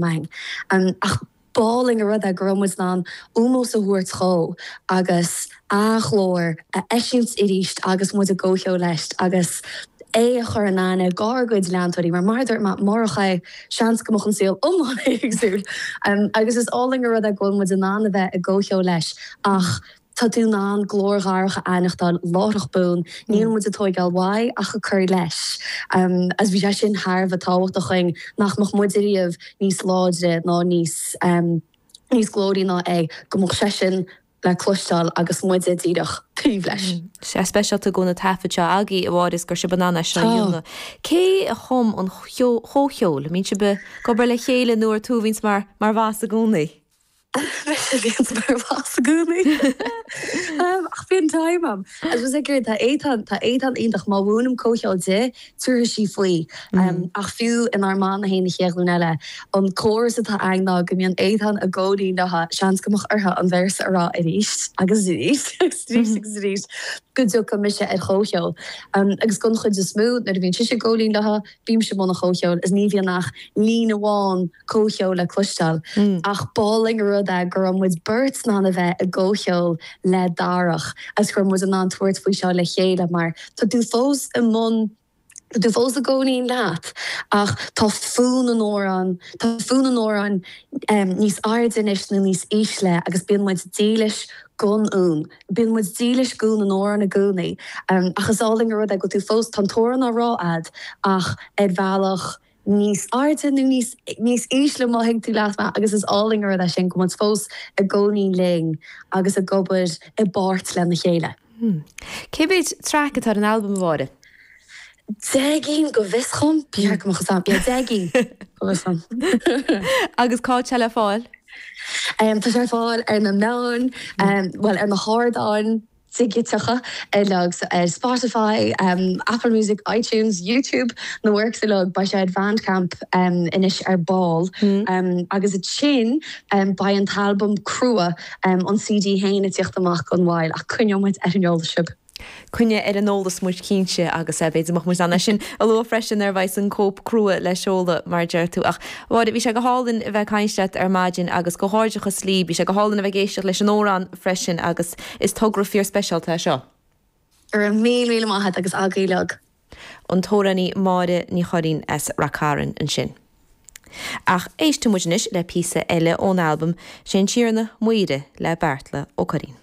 Againn. Ach b'álainn an rud é go raibh muid in ann ómós a thabhairt dhó agus a ghlór a eisiúint arís agus muid i gcomhcheol leis agus é a chur in aithne dhár gcuid leantóirí mar mar a dúirt mé, murach é, seans go mbeadh an saol iomlán éagsúil. Agus is álainn an rud é go bhfuil muid in ann a bheith i gcomhcheol leis ach Tá tú in ann glór Dharach a aithneachtáil láithreach bonn, níl muid ag tóigeáil uaidh ach ag cur leis. Agus bhí sé sin thar a bheith tábhachtach dhuinn, nach mbeadh muid ariamh níos láidre ná níos níos glóraí ná é, go mbeadh seisean le cloisteáil agus muide díreach taobh leis. Sé speisialta go na taifid seo agaibh, a Mháire, is gur sibh in ann é seo a dhéanamh. Cé a chum an chomhcheol? An mbíonn sibh ag obair le chéile nó ar tú a bhíonns mar mar bhoss i gcónaí? Mise a bhíonns mar bhoss i gcónaí. Ach bíonn time a'm. I suppose ag iarraidh, tá Étáin, tá Étáin iontach, má mhúinim comhcheol di, tabharfaidh sí faoi. Ach fiú inár mbanna féin, An Chéad Ghlúin Eile, an córas atá againn ná go mbíonn Étáin i gcónaí leo, seans go mbeadh orthu an véarsa a rá arís agus arís agus arís agus arís go dtiocfaidh mise ar chomhcheol. Agus don chuid is mó, nuair a bhíonn sise i gcónaí leo, bímse i mbun an chomhcheoil is ní bhíonn ach líne amháin comhcheol le cloisteáil. Ach b'álainn an rud é go raibh muid beirt in ann a bheith i gcomhcheol le Darach agus go raibh muid in ann tabhairt faoi seo le chéile mar tá tú fós i mbun, tá tú fós i gcónaí leat ach tá fonn an amhráin, tá fonn an amhráin níos airde anois nó níos ísle agus bíonn muid dílis don fhonn. Bíonn muid dílis d'fhonn an amhráin i gcónaí. Ach is álainn an rud é go bhfuil tú fós, tá an t-amhrán á rá a'd ach ar bhealach níos airde nó níos níos ísle má thuig tú leat mé agus is álainn an rud é sin go bhfuil muid fós i gcónaí linn agus ag obair i bpáirt lena chéile. Cé mhéid traic atá ar an albam, a Mháire? 10 gcinn go bhfios dhom, ba cheart go mbeadh fhios a'm, yeah 10 gcinn go bhfios dhom. Agus cá bhfuil sé le fáil? Tá sé ar fáil ar na meáin, bhuel ar na hardáin dhigiteacha uilig, so ar Spotify, Apple Music, iTunes, YouTube, na works uilig. Beidh sé ar Bandcamp anois ar ball. Agus ansin beidh an t-albam crua, an CD féin ag tíocht amach gan mhoill ach coinneoidh muid ar an eolas sibh. Coinnigh ar an eolas muid cinnte agus b'fhéidir go mbeadh muid in ann é sin a lua freisin nuair a bheidh an cóip crua le seoladh mar a deir tú. Ach a Mháire, bhí sé go hálainn a bheith ag caint leat ar maidin agus comhghairdeachas libh. Bhí sé go hálainn a bheith ag éisteacht leis an amhrán freisin agus is togra fíor speisialta é seo. Go raibh míle míle maith agat agus agaibh uilig. An t-amhránaí Máire Ní Churraoin as Rath Cairn ansin. Ach éistfidh muid anois le píosa eile ón albam, Sé an Tiarna m'aoire le Beartla Ó Curraoin.